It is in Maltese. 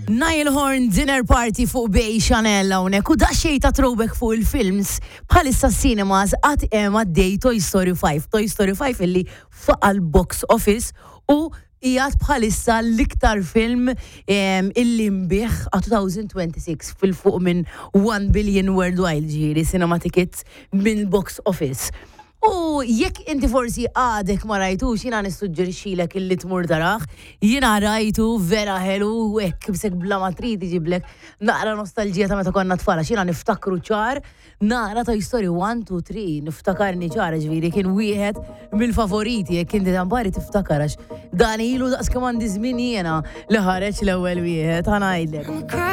Niall Horn Dinner Party fuq Bay Chanel hawnhekk u daqsxejn ta' throwback fuq il-films bħalissa cinemas għad hemm għaddej Toy Story 5. Toy Story 5 illi faqa' l-box office u qiegħed bħalissa l-iktar film illi nbiegħ għal 2026 fil-fuq minn 1 billion worldwide ġifieri cinema tickets minn box office. U jekk inti forsi għadek ma rajtux, jiena nissuġġerixxilek illi tmur tarah. Jiena rajtu vera ħelu u hekk bsek bla ma trid iġiblek naqra nostalġija ta' meta konna tfal għax jiena niftakru ċar nara Toy Story 1, 2, 3, niftakarni ċar ġifieri kien wieħed mill-favoriti jekk inti tampari tiftakar għax dan ilu daqs kemm għandi żmien jiena li ħareġ l-ewwel wieħed ħa ngħidlek.